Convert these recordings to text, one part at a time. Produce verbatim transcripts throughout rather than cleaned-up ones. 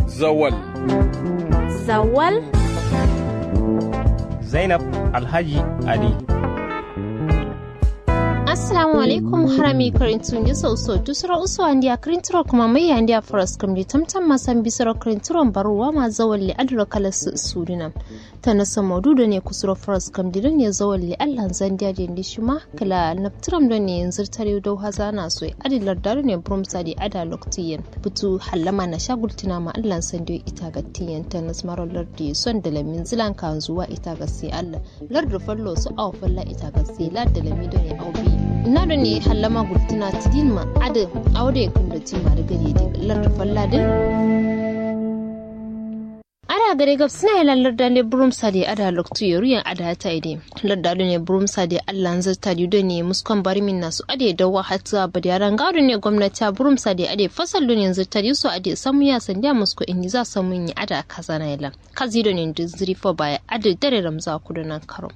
Zawal. Zawal. Zainab Alhaji Ali. Assalamu alaikum. Harami karintu nde so uso dusuro uso andiya karinturo kuma mai andiya faras kamdi tamtam masan bisuro karinturon baruwa ma zawalle aduro kala su suduna. Tanasa maudu done kusuro faras kamdi done zawalle allan zandiya dendi shima kla nabtiram done nzirtari dau hazana soye adi larda done burumsa de ada loktiyen. Butu hallama nasha gultinama allan sandiyo itagattiyen tanas maro lardi son dalamin zilan kanzuwa itagatti allan. Lardu fallo so awo falla itagatti la dalami done awo bi. Na done hallama gultina tidinma adi awo done kundotinma di gadedi lardu falla din. Ada gade gabsina ye lan larda nde burumsa de ada loktu yoru yen ada tayi de. Larda done burumsa de allan zirtadi done muskon barimin nasu ade dawa hatta badiya ranga done gomnati a burumsa de ade fasal done zirtadi so ade samuya sandiya musko indi za samun ye ada kazana ye lan. Kazi done ndu zirifo baya ade dare ramza kudo nan karo.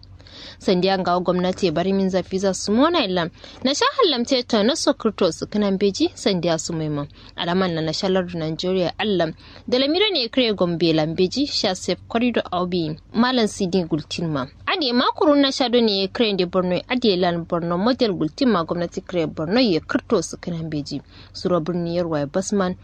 Sandiya ngawo gomnati ye barimin za fiza sumona ye lan. Nasha hallamte tanaso kirto sikinan beji sandiya sumoi ma. Alaman na nasha lardu nigeria allan. Dalami done kre gombe lan beji sha sef korido awo bi. Malan sidi gultin ma. Ade ma kurun nasha done kre nde borno ye ade lan borno model gultin ma gomnati kre borno ye kirto sikinan beji. Suro birni yerwa ye basman.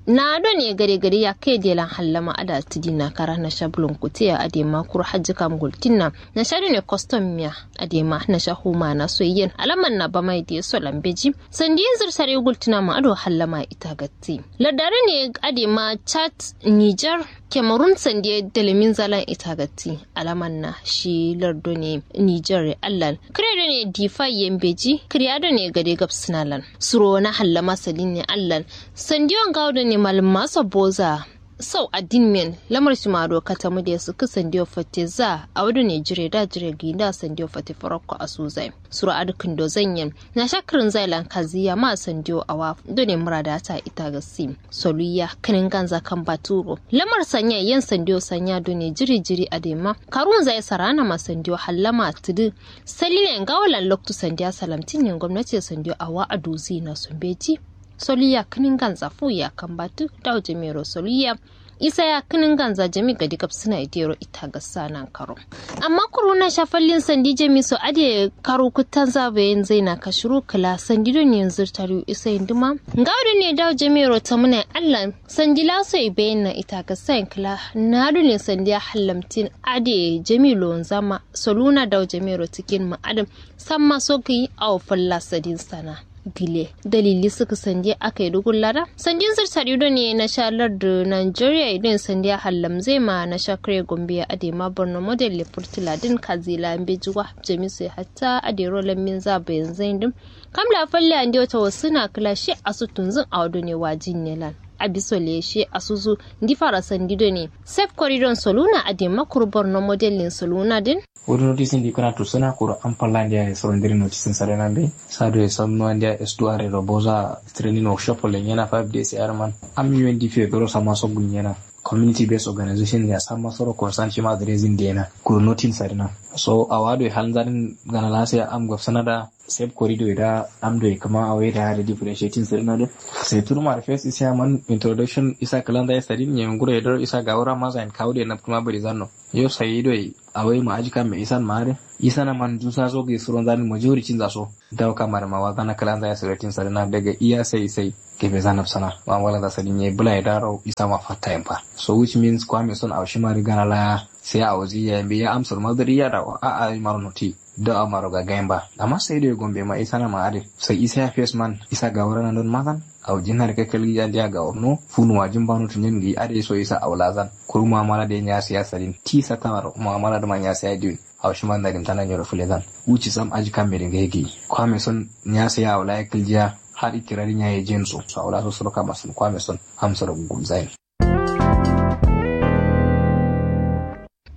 Na done gade gade yakke de lan hallama ada tidinna kara nasha bulun kutiya ade ma kuru hajji kam gultinna. Nasha done kostom miya. Ade ma nasha huma na soyyen alaman na bamai de so lan beji. Sandiyin zirtari gultinama ado hallama itagatti. Larda done ade ma chad, niger, cameroon sandiye dalamin zalan itagatti. Alaman na shi lar done niger ye allan. Kre done difa ye mbeji kriya done gade gabsina lan. Suro na hallama sadin ye allan. Sandiyo ngawo done malumma so boza. Sau adin men lamar shima do katamu de sukku sandiyo fatte za. Awo done jire da jire gi nda sandiyo fatte farakko asu zai. Suro adu kindo zanyen. Nasha kirin zai lan kaziya ma sandiyo awa done murada ta itagatti. Soluya kinin ganza kan baturo lamar sanya yen sandiyo sanya done jiri jiri adema. Karun zai sarana ma sandiyo hallama tidi. Salile ngawo lan loktu sandiya salamtin yen gomnati sandiyo awa aduzi na sumbeji. Soluya kinin ganza fuya kan batu dawo jemero soluya. Isa ya kinin ganza jami gadi gabsina idero itagassa nan karo. Amma kuru nasha fallin sandi jami so ade karu kuttanza bayin zaina kashuru kla sandi done zirtari isa induma. Ngawo done dawo jemero tamuna allan sandi laso ibayin na itagassa yen kla. Na done sandiya hallamtin ade jami lonzama soluna dawo jemero tikin ma adam. Samma so giyi awo falla sadin sana. Gile dalili sukku sandiye akai dugun lada sandin zirtari done nasha lardu nigeria ye done sandiya hallamzai ma nasha kre gombe ye adema borno model le furtula din kazila mbeji wa. Jamisu ye hatta adero lammin za bayin zain din. Kamla falle andiyo tawassuna kla shi asu tunzun awo done wajin ne lan. Abiso le shi asuzu. Ndi fara sandi done sef koridon soluna adema kuru borno model lin soluna din. Wuri notisin di kǝna tusǝna kuru am falla ndiya ye soro ndiri notisin sadǝna mbe. Sado ye samnuwa ndiya estuare ro boza training workshop lenye na five days ye adǝ man. Am undp ye doro samma so gulnyena. Community based organization ya samma soro concern shima adresin diyena kuru notin sadǝna. So awa do ye halnzadǝn gana lasiya am gabsǝna da. Sef korido ye da am do ye kǝma awo ye da differentiating sadǝna dǝ. Sai turma da first isa man introduction isa kǝlanza ye sadin ye nguro ye doro isa gawura maza yen kawu do ye naptuma bari zanno. Yo sai do ye awai ma aji kamme isan ma adǝ. Isana man dusa so gǝyi suronza dǝ majority nza so. Dawo kamma dǝ ma wazana kǝlanza ye sǝrotin sadǝna daga iya sai sai. Kebe zanab sana ma wala za sadin ye bǝla ye daro isa ma fatta yen fa. So which means kwame son awo shima dǝ gana laya. Sai awo ziya yen be ya amsur ma dǝ riya dawo a'a maro noti. Dawo amaro gagayen ba. Amma sai do ye gombe ma isana ma adǝ. Sai isa ya face man isa gawura na don mazan. Awo jinna dǝ kakkalgi andiya gawurno. Funu wajin bano tunyen gǝyi adǝ ye so isa awo lazan. Kuru mu'amala dǝ ye nya siyasa din ti satta maro mu'amala dǝ ma nya siya diwin. Awo shima nda dimtana nyiro fǝlezan. Wuci sam aji kamme dǝ ngai gǝyi kwame son. Nya siya awo la ye kǝljiya. Har ikirari nya ye jen so so awo la so suro kama son kwame son. Amsoro gulzayin.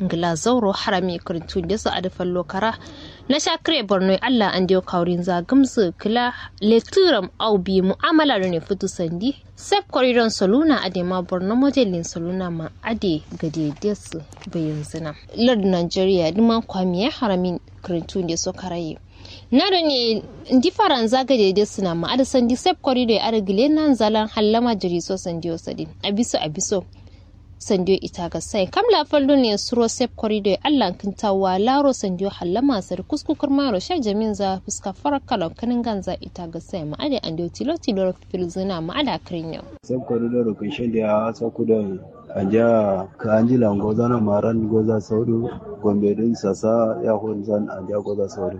Ngla zauro harami kǝrintu ndeso adǝ fallo kara. Nasha kǝre borno ye allah andewo kawurinza gǝmsǝ kǝla. Letǝram au bi mu'amala done futu sandi. Sef koridon soluna adema borno modelin soluna ma ade gade desǝ. Bayinzǝna lardu nigeria dǝma kwamiye harami. Kǝrintu ndeso karaye. Na done ndi faranza gade de sǝna ma adǝ sandi sep korido ye adǝ gǝle nanza lan hallama jiri so sandiyo sadin abiso abiso. Sandiyo ita gassaye kam la fal done suro sep korido ye allan kǝnta wa laro sandiyo hallama sadǝ kusku kǝrmayero sha jaminza fuska farakkalon kǝnǝnganza ita gassaye ma adǝ andiyo tilo tilo filzǝna ma adǝ akǝrinyo. Sep korido ro kǝnshe ndiya sokudoi. Andiya kǝ anjila ngozana maran goza saudu. Gombe din sasa ya honzan andiya goza saudu.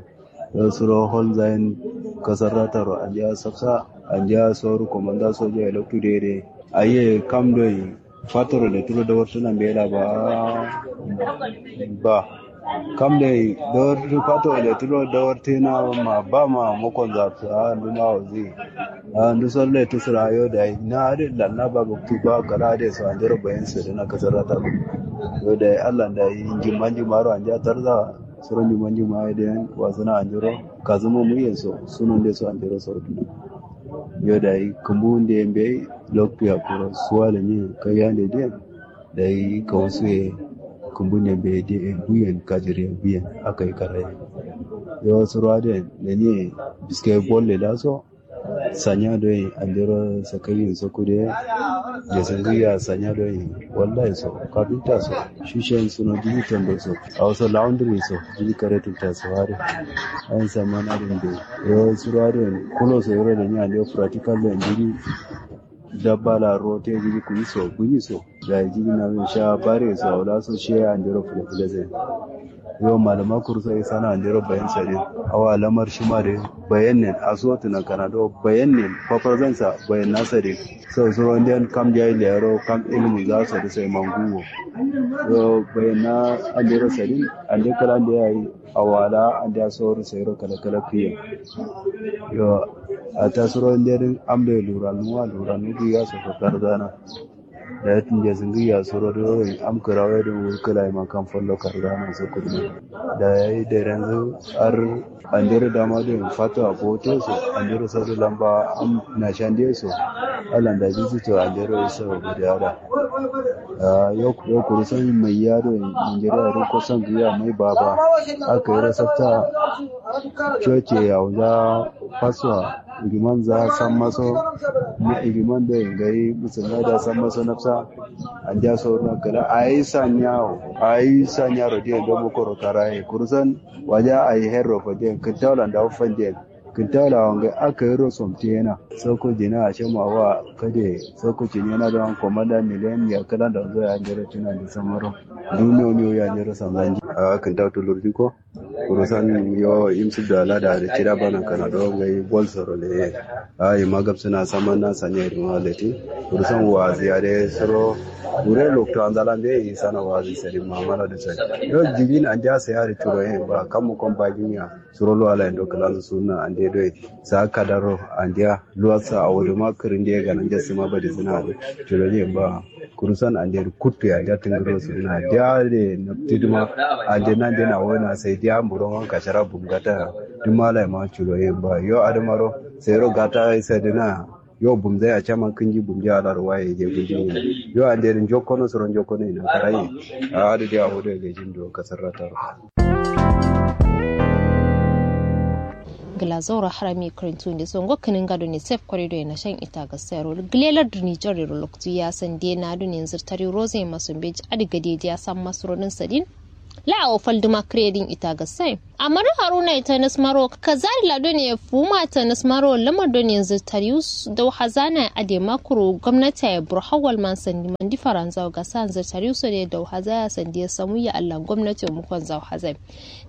Yo suro holzayin kasarrataro andiya safsa. Andiya soru komanda soja ye loktu dede. Aye kam doi fatoro le turo dawartuna mbela ba. Ba kam doi dawartu fatoro le turo dawartuna ma ba ma mukon zafsa nduma wazi. A ndu sor le tusura yo dai na adǝ lanna ba buktu ba kala adǝ so andero bayin sodina kasarrataro. Yo dai allah dai njimma njimmaro andiya tarza. Suro njimma njimma ye dai wasuna andero kazuma muyen so sunon de so andero sorduna. Yo dai kǝmbu nde mbeyi loktu yakkuro suwa lenye kaiyande diyen. Dai kawusu ye kǝmbu nde mbeyi diyen buyen kajiri ye buyen. Akai karaye. Yo suro adǝ lenye biske bolle laso. Sanya doi andero sakayin so kude. Jesingiya sanya doi wallahi so kafinta so shishen suno jiji tondo so. Awo so laundry so jiji kare tulta so adǝ. Ayin samana din doi yo suro adǝ kulo so yero lenye andero practical doi jiji. Dabba la rote jiji kuyi so bunyi so. Dai jiri na min sha bare so awla so shiye andero fule fule zai. Yo malama kuru so isana andero bayan sadin. Awa lamar shima de bayan nen aso tuna kana do bayan nen fafarzan sa bayan na sadin. So suro ndiyan kam jai lero kam ilmu za so de sai manguwo. Yo bayan na andero sadin ande kala ande yayi. Awala andiya soro sairo kala kala kuyen. Yo ata suro ndedin amde luranu wa luranu du ya so ko karzana. Dayi tinje singi ya soro do am kirawe do wurkila ma kam follo karzana so kudin. Dayi derenzu ar andero dama do fato abote so andero soro lamba am na shande so. Alanda bizi to andero so gudiya da. Yo kurusan mai yado nigeria rin kusan giya mai baba. Aka yi rasafta coke ya wuza faswa. Igiman za san maso igiman da gai musulmai da san maso nafsa. Andiya so na kala ayi sanya ayi sanya rodiyan don mukoro karaye kurusan waja ayi herro fadiyan kintalan da fadiyan. Kintalan wangai aka yi rosom tiyena soko jina a shema wa kade soko cinena don komanda miliyan ya kala da zo ya jira cina da samaro. Duniya miyo ya jira samzanji a kinta tulur jiko. Kurusan yo imsik da lada da cida bana kana do ngai bol soro le. Ayi magab suna saman na sanya iduma leti. Kurusan wazi ade soro. Kure lokto anzala mbe yi sana wazi sari mamala da sari. Yo jigin andiya sai ari turo yin ba kamu kon bagin ya. Suro lo ala indo kalanzu suna ande do yi. Sa kadaro andiya luwasa awoduma kirinde gana jasima badi suna ade. Turo yin ba. Kurusan ande kuttu ya ja tingiro suna diya de nabti duma. Ande nan de na wona sai diya mburon wanka shara bumgata. Duma lai ma culo yin ba yo adamaro. Sai ro gata sai dina. Yo bumzai a caman kinji bumji alar waye je bumji. Yo ande din jokkono suro jokkono ina karaye. A adu diya hodo ga jindo kasarrataro. Gla zauro harami kirintu nde so ngo kininga done sef korido ye nashan ita ga sayaro glelar duni jorero loktu ya sande na done nzirtari roze maso mbeji adi gade diya samma surodin sadin. La awo falduma kiredin ita ga sai amma do haruna ita nasmaro kazari la done fuma ta nasmaro lamar done nzirtari dau hazana ade makuru gwamnati ya bur hawal man sandi mandi faranza ga sa nzirtari so de dau hazaya sande samu ya allah gwamnati mu kon zau hazai.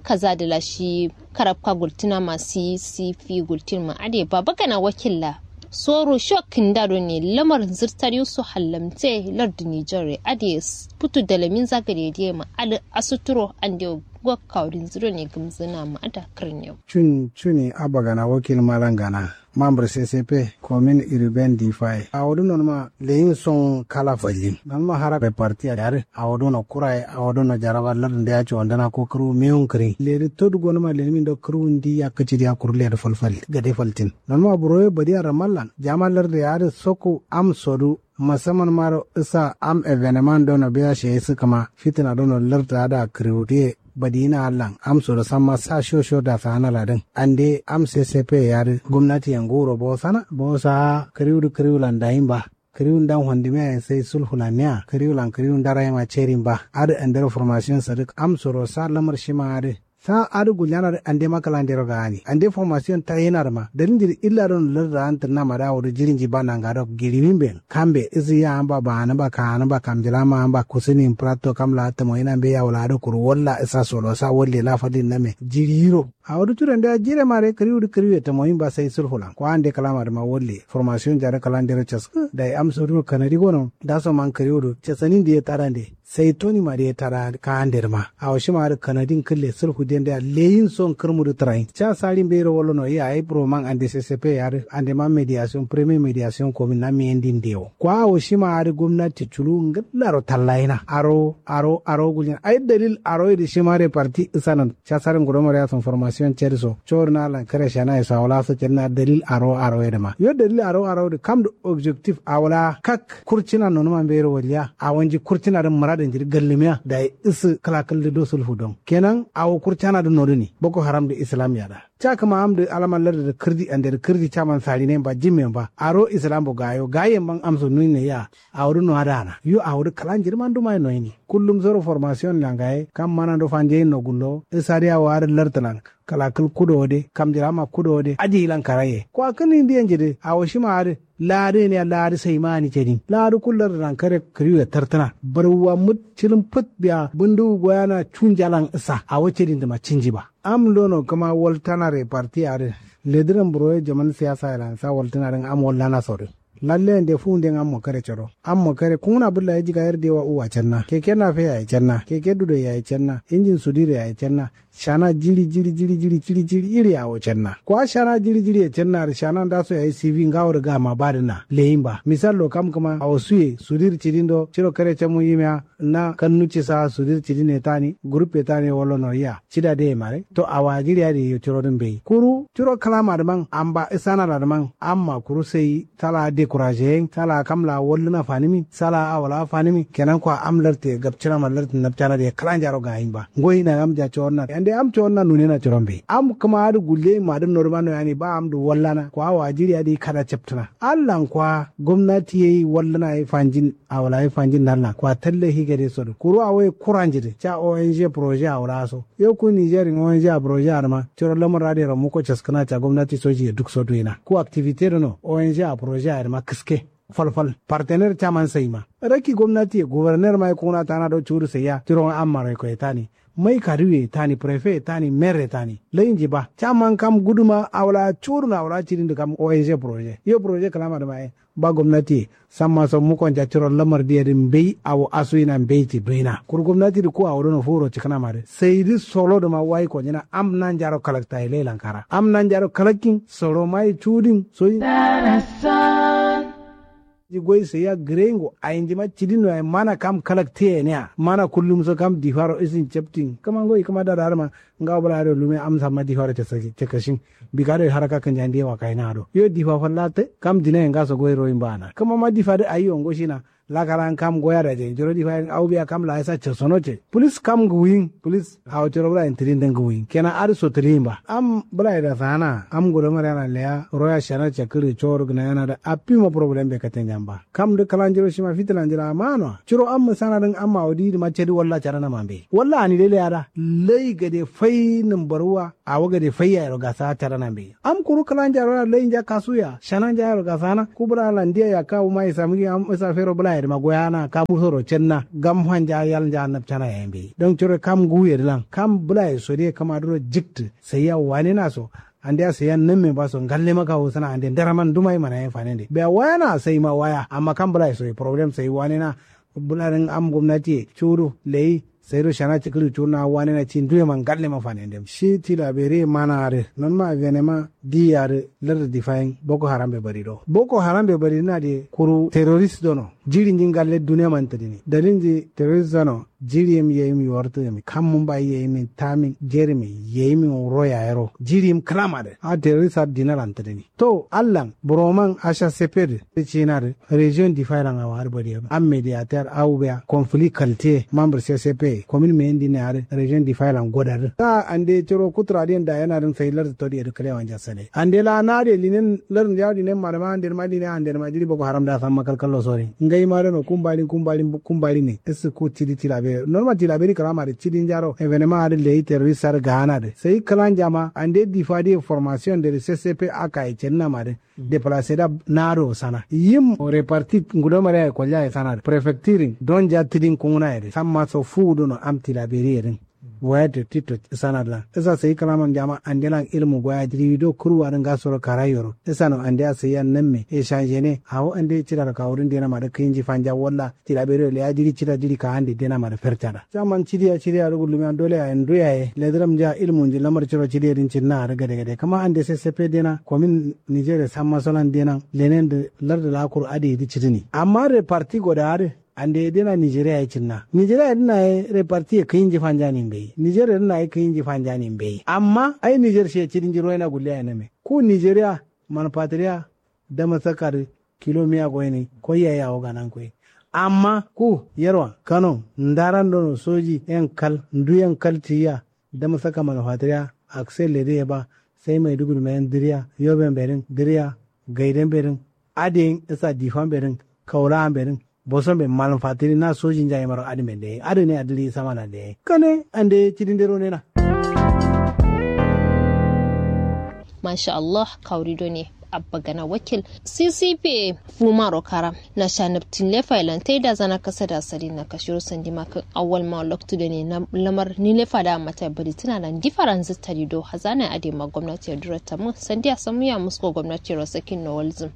Kaza da la shi karabka gultina ma si si fi gultin ma ade baba gana wakilla. Soro shok kinda do ne lamar zirtar yusu hallamte lardu nijar ade putu dalamin zagare de ma ali asuturo ande gokka wurin ziro ne gumzina ma ada kirniyo. Cun cuni abba gana wakil malan gana. Mambre ccp komin iriben difaye awodu nonuma leyin son kala fallin nonuma hara be parti a yare awodu no kuraye awodu no jaraba lar nde ya ci wandana ko kuru miyun kiri ledi todu gonuma lenimin do kuru ndi ya kici diya kuru ledi falfal gade faltin nonuma buroye badi a ramallan jama lar de yare soku am sodu musamman maro isa am evenement dono biya sheye sikama fitina dono lar da da kiriu diye. Badiyina allan amso do samma sa sho sho dasa ana ladin ande am sesefe yari gomnati ye nguro bosana bosa kriwudu kriwulan dayin ba. Kriwun dan hondimiya ye sai sulhulan niya kriwulan kriwun dara yema cerin ba. Adi andero formasion sadik amso do sa lamar shima adi sa adi guljana di ande ma kala ndero gani ande formasion tayina di ma dalin jiri illa don larda antir nama da wudu jirin ji ba nanga do giriwin ben kambe isi ya amba ba ani ba ka ani ba kamjila ma amba kusini prato kamla tamo ina mbe ya wala adi kuru walla isa solo sa walle la fadin name jiri yiro. Awo du curen da jire mare kriwu du kriwu ye tamoyin ba sai sulhulan ko ande kalama duma wolle formasion jare kalan dero caskǝ. Dai amso duro kanadi gono daso man kriwu du casanin diye tarande sai toni ma diye tara ka ande duma. Awo shima du kanadin kǝlle sulhu den da leyin son kǝrmu du tarayin ca sari mbeiro wallo no iya ai buro man ande sesepe ya du ande man mediasion premier mediasion komin na meyendin dewo ko awo shima adu gomnati culu ngǝllaro tallayina aro aro aro gulin ai dalil aro idi shima de parti isanan. Casarin gudomar yason formasion cedi so cori na lan kare shana ye so awala so cedi na dalil aro aro ye dima yo dalil aro aro di kam di objectif awala kak kurcina nonuma mbero waliya awonji kurcina din muradin jidi gallimiya dayi isi kala kal di do sulfu don kenan awo kurcana di noduni boko haram di islam yada. Ca kǝma am di alama lardi di kǝrdi ande di kǝrdi caman sarinen ba jimmen ba aro islam bo gayo gayen ban amso nuyin ne ya. Awo di nuwa dana yo awo di kala njidi man duma ye noyini kullum soro formasion langaye kam mana do fanjeyin no gullo isadi awo adi lartǝlan. Kala kǝl kudo wo de kamjirama kudo wo de aji yilan karaye kwa kǝn indi ye njidi awo shima adi. Laa di yen ya laa di sai ma ani cedin laa di kul lartǝlan kare kǝriwu ye tartǝna barwuwa mut cilin fǝt biya bǝnduwu goyana cunjalan isa awo cedin dǝma cinji ba. Am dono kǝma waltana reparti adǝ lediran buroye jaman siyasa ye lansa waltǝna dǝn am wallana sodǝ. Lalle yande fuwunden ammo kare coro ammo kare kunguna bǝlla ye jiga yar dewa uwa cenna keke nafe yayi cenna keke dudo yayi cenna injin sudir yayi cenna. Shana jiri jiri jiri jiri jiri jiri iri awo cenna kwa shana jiri jiri ye cenna dǝ shana ndaso yayi sifi ngawo dǝ gama badǝna leyin ba misallo kam kǝma awo suye sudir cidin do ciro kare camu yimiya. Na kannu cisa sudir cidin ye tani gurup ye tani ye wallo no yiya cida de ye mare to awa jiri adǝ ye curo dǝ mbeyi kuru curo kǝlama dǝman amba isana la dǝman amma kuru sai sala dekuraje yen sala kam la wallǝna fanǝmi sala awo la fanǝmi kenan kwa am lartǝ ye gabcina ma lartǝ napcana dǝ ye kǝlanjaro gayin ba ngoyina am ja cawonna yande am cawonna nunena curo mbeyi am kǝma adǝ gulleyin ma dǝ nodǝma noyani ba am dǝ wallana kwa awa jiri adǝ kada captǝna allan kwa gomnati ye wallǝna ye fanjin. Awo la ye fanjin nallan kwa tallafi gade so dǝ kuru awo ye kuranji dǝ ca ong projet awo la so yo ku nijerin ong a projet adǝ ma curo lamar adǝ yero muko caskǝna ca gomnati soji ye duk so duyina ku activite dǝ no ong a projet adǝ ma kǝske. Fal fal partener caman sai ma rakki gomnati ye guberner ma ye kunguna tana do cudu saiya curo amma roi koye tani mai kadu ye tani prefe ye tani mer ye tani lainji ba caman kam guduma awo la cudu no awo la cidin dǝ kam ong projet yo projet kǝlama dǝ ma ye. Ba gomnati ye samma so mukonja curo lamar diye dǝ mbeyi awo asuyina mbeyi ci duyina kuru gomnati dǝ ku awo dono furo cikǝna ma dǝ sai dǝ solo dǝ ma wayi konjina am nanjaro kalakta ye lailan kara am nanjaro kalakkin soro mayi cudin soyi. Ji goi sai ya gǝreyingo ayinjima cidin no yayi mana kam kalaktiye niya mana kullum so kam difaro isin captin kǝma ngoyi kǝma dada adǝ ma. Ngawo bǝla adǝ lume am samma difaro cakashin. Bika doi haraka kǝnja ndiye wakayina do yo difa falla tǝ kam dinaye ngaso goyi royin bana kǝma ma difa dǝ ayi yo ngoshina. Lakalan kam goya daje njiro difa yen au biya kam la isa casono ce pǝlis kam ngǝwuyin pǝlis. Awo coro bǝla yen tǝlin dǝ ngǝwuyin kenan adǝ so tǝlin ba am bǝla ye dasana am gudo mare ana leya roya shana cakǝri coro gǝna yana dǝ affi ma problem be katenjan ba kam dǝ kǝlanjiro shima fitǝlanjiro amma no wa curo am mǝsana dǝn amma awo diyi dǝ ma cadi walla cadana ma mbeyi walla ani dai leya da. Lai gade fai nǝmbaruwa awo gade fai yayero gasa cadana mbeyi am kuru kǝlanja roya lainja kasuya shananja yayero gasana ku bǝla landiya yakka wuma isa mǝgi am isa fero bǝla ye dǝma goyana kam soro cenna gam fanja yalnja nabcana yayi mbeyi don curo kam nguwu ye dǝlan kam bǝla ye so diye kǝma duro jiktǝ. Saiya wanena so andeya saiya namme ba so ngalle ma kawu sǝna ande ndaraman duma ye mana ye fanende biya wayana sai ma waya amma kam bǝla ye so ye problem sai wanena. Bǝla dǝn am gomnati ye cudu leyi sai do shana cikǝri cunna wanena ci nduye ma ngalle ma fanendem shi tilaberi ye mana adǝ nonma avenema diyi adǝ. Lardǝ difayin boko haram be bari do boko haram be bari dǝna diye kuru terrorist dono jirinji ngalle duniya man tǝdǝni dalilnji terrorist dono. Jiriyim yeyim yuwartǝ gǝmi kam mumbai yeyimin tamin jerimi yeyimin wuro yayero jiriyim kǝlam adǝ a terrorist adǝ dinalan tǝdǝni. To allan buroman asha sepe dǝ cina dǝ region difayi lan awo adǝ bari yero am mediater awu biya conflit kaltiye mambur sesepe. Komin meyin dinne adǝ rejen difayilan goda dǝ. Ande coro kutura diyen da yana dǝn sai lardǝ todi yadǝ kǝlewan jassale ande la na adǝ ye linen lardǝ nde adǝ linen ma dǝ ma ande dǝ ma linen ande dǝ ma jiri boko haram da samma kalkallo sori ngai ma dǝno kumbalin kumbalin kumbalin ne. Issǝ ku cidi tilaberi normal tilaberi kǝlama dǝ cidi njaro evenema adǝ leyi terrorist adǝ ga'ana dǝ sai kǝlanja ma ande difa diye formation dǝ dǝ sessepe aka ye cedǝna ma dǝ. Deplacé da naro sana yim reparti ngudo mare ay kolja ay sana prefecture don ja tidin kunguna yede samma so fu dono am tilaberi yedin. Waya de tito sana la isa sai kalaman jama andelan ilmu goya jiri do kurwa din gasoro kara yoro isa no ande sai yan namme e changene awo ande cira ka wurin dena ma da kinji fanja walla tilaberi le ya jiri cira jiri ka ande dena ma da fertada. Jaman cidiya cidiya rugu lumiya dole ya ndu yaye lediram ja ilmu nji lamar ciro cidiya din cinna ada gade gade kama ande sessepe dena komin nigeria samma solan dena lenen da larda lakur ade yidi cidini amma reparti goda ade ande dena nigeria ya cinna nigeria ya dina ye reparti ye kinji fanja ni mbeyi nigeria dina ye kinji fanja ni mbeyi amma ai niger she cidin jiro yana gulle ya name ku nigeria manpatriya dama saka dǝ kilo miya goyini koi yayi awo ganan koi. Amma ku yerwa kano ndaran dono soji yen kal ndu yen kal tiyiya dama saka manufatiriya aksel lediye ba sai maiduguri mayen diriya yoben bedin diriya gaiden bedin adiyin isa difan bedin kaulawan bedin boson be malum fatiri na sojin jayi maro adin be dai adin ne adili samana dai kane ande cidin dero nena. Masha allah kawri done abba gana wakil ccpa fumaro kara na sha nabtin lefa ilan taida zana kasa da sari na kashiro sandi makin awwal ma loktu done lamar ni lefa da mata bari tana nan difaran zittari do hazana ade ma gwamnati ya dura tamu sandi a samu ya musko gwamnati ro sakin no walzim.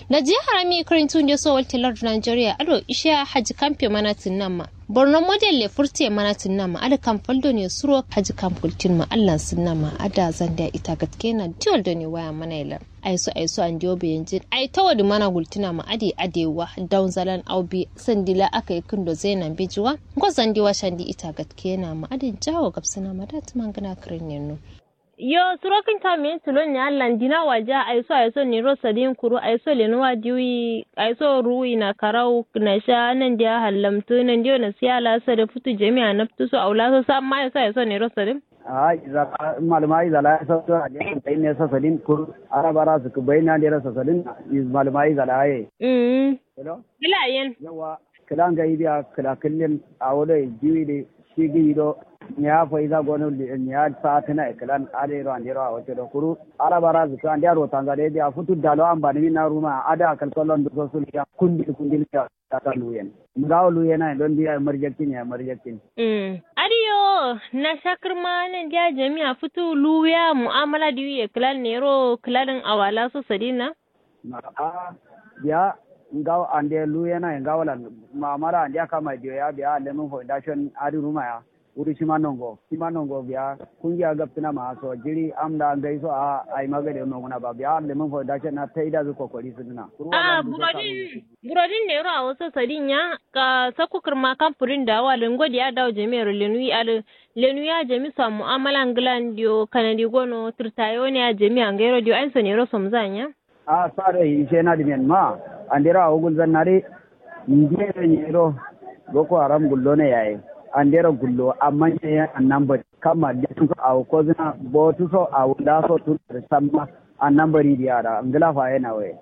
Najiya harami kirintu nde so walte lardu nigeria ado ishiya haji kampe mana tinnama borno model le furte mana tinnama ada kam faldo ne suro haji kam kultin ma allan sinnama ada zanda ita gatkena diwal do ne waya mana ilan. Aiso aiso andiyo beyenjin ai tawadi mana gultina ma adi adewa daun zalan au bi sandila aka yi kindo zaina mbejiwa. Ngo zandiwa shandi ita gatkena ma adin jawo gabsina ma dati mangina kirin yenno. Yo suro kǝnta miyin tulon ni allan dina waja aiso aiso niro sadin kuru aiso lenuwa diwi aiso ruwi na karau nasha nandiya hallamtǝ nandiyo nasiya la sade futu jami'a nabtǝ so aula so samma aiso aiso niro sadin. Ahh izala maluma izala aiso so aje bayin ne so sadin kuru arabara sukǝ bayin na ndero so sadin. Maluma izala aye. Uhmm. Hello. Kǝla yen. Yauwa. Kǝla ngai diya kǝla kǝllin awo doi jiwi dǝ shi gǝyi do. Nya faiza gono nya satǝna ye kǝlan adai ro andero awo codo kuru. Ala bara zǝkǝ andeya rotanza dai biya futu dalo ambanǝmin na ruma ada kalkallo nduso sulkiya kundil kundil kiya. Taka luyen ngawo luyen aye don diya marjaktin yayi marjaktin. Uhmm adiyo. Nasha kǝrma nandiya jami'a futu luwiya mu'amala diwiye kǝlan nero kǝlanin awala so sadin na. Ahh biya ngawo ande luyena ye ngawolan. Mamala andeya kama diyo ya biya lemǝn foundation adǝ ruma ya. Wuri shima nongo shima nongo biya kungiya gabtǝna ma so jiri amla ngai so ahh aima gade nonguna ba biya lemǝn foundation na taidazǝ kokori sǝdǝna. Ahh burodin burodin nero awo so sadin ya. Sakku kǝrma kam fudin dawo adǝ ngo diya dawo jami'ero lenuwi adǝ lenuwi ya jami so mu'amala nglan diyo kanadi gono tǝrtaye wone ya jami'a ngairo diyo ain so nero somzan ya. Ahh sa doi ishe nadǝ men ma andero awo gulzan nadǝ. Ndiye doi nyiro boko haram gullono yaye andero gullo amma nyi ye annan bari kamma letu so awo kozǝna botu so awo nda so tun adǝ samma annan bari diya da ngla faye nawo ye.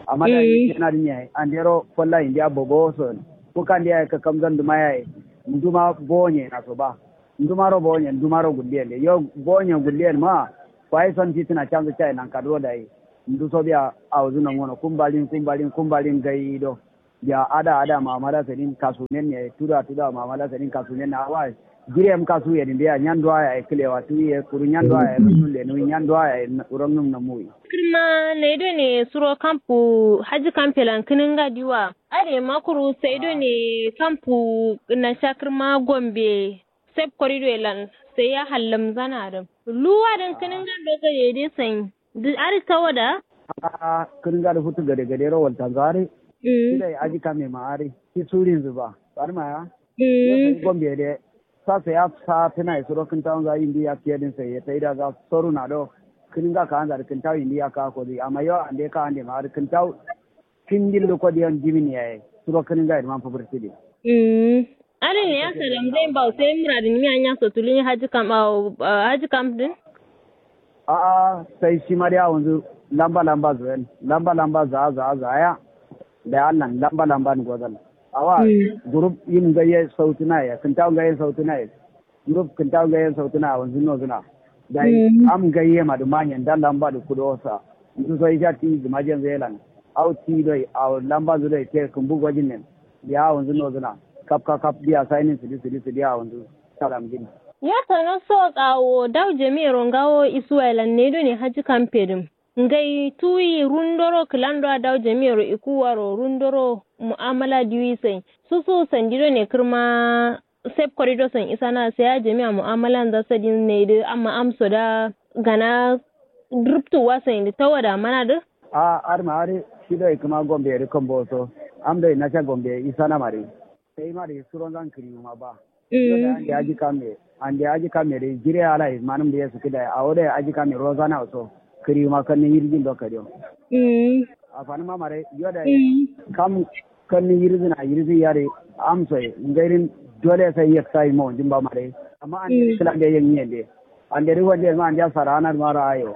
Amma dayi ishe nadǝ nyi yaye andero folla indiya bobowo so. Kuka ndiya ye kakkamzan duma yaye nduma bowo nyena so ba. Ndumaro bowo nyen ndumaro gulliyen de yo bowo nyen gulliyen ma. Kwayi son fitǝna canzǝ cayi nankaduro dayi nduso biya awozǝ nongono kumbalin kumbalin kumbalin ngai do. Biya ada ada mamada sadin kasumen yayi tuda tuda mamada sadin kasumen na awa. Jire yam kasu yedin biya nyanduwa yayi kǝlewa tuwi ye kuru nyanduwa yayi rundun lenuwi nyanduwa yayi ronnum namuwi. Kǝrma nai done suro kampu haji kampelan kǝnǝnga diwa. Adai ma kuru sai done kampu nasha kǝrma gombe. Sep koridoye lan sai ya hallamzana dǝ luwa dǝn kǝnǝngan do gade dai sai dǝ adǝ tawo da. Ahh kǝnǝnga dǝ futu gade gade ro waltanza adǝ. Shi dai aji kame ma adǝ shi surinzǝ ba. Barma ya yo sai gombe dai. Sa sai ya satǝna ye suro kǝntawunza yindi yakkiye dǝn sai ye taida za soruna do. Kǝnǝnga kaanza dǝ kǝntawu yindi yakka kodǝ amma yo ande kaande ma adǝ kǝntawu. Findin dǝ kodiyon jimin yaye suro kǝnǝnga ye dǝ man fǝfǝrtǝ dǝ. Uhmm. Adǝ ne ya salam zain bawo sai muradǝ nimiya nyaso tulunyi hajji kam awo hajji kam dǝn. A'a sai shima dai awonzǝ lamba lamba zoyen lamba lamba za'a za'a za'a ya. Dayi allan lamba lamba ni gozan awa. Group yim ngai ye sautǝna ye kǝntawu ngai ye sautǝna ye. Group kǝntawu ngai ye sautǝna awonzǝ nozǝna. Dayi am ngai ye madǝ manye nda lamba dǝ kudo sa. Ndu so isha ti gǝmajen zailan. Au ti doi awo lamba nzǝ doi te kǝmbu gojin nen. Biya awonzǝ nozǝna. Kap kap kap biya sainin sǝdi sǝdi sǝdi awonzǝ. Salam gin. Ya tano so awo dawu jami'ero ngawo isuwailan ne done hajji kam pedǝm. Ngai tuyi rundoro kǝlando a dawu jami'ero ikuwaro rundoro mu'amala diwi sai. Susu sandi done kǝrma sep korido san isana sai a jami'a mu'amalan za sadin naidǝ amma amso da gana. Ruptu wasain dǝ tawada mana dǝ. A adǝ ma adǝ shi doi kǝma gombe dǝ kambo so. Am doi nasha gombe isana ma dǝ. Sai ma dǝ suron zan kǝriwu ma ba. Yo dai ande aji kamme ande aji kamme dǝ jire ala ye manǝm dǝ ye sǝkǝ dai awo dai aji kamme rozana so. Kǝriwu ma kannin yirjin do kadiyo. Afanǝm ma ma dai yo dai kam. Kanni yirzǝna yirzǝ yare amsoye ngairin. Dole sai yaksa yima wunjin ba mare. Amma ande kǝla nde yen yende ande ri wande ma ande sara anar ma ra'ayo.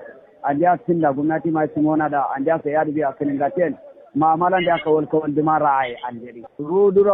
Ande tinda gumnati ma cimona da ande sai yadu biya kinin gaten. Ma'amala ande kawal kawal duma ra'aye ande ri ru duro.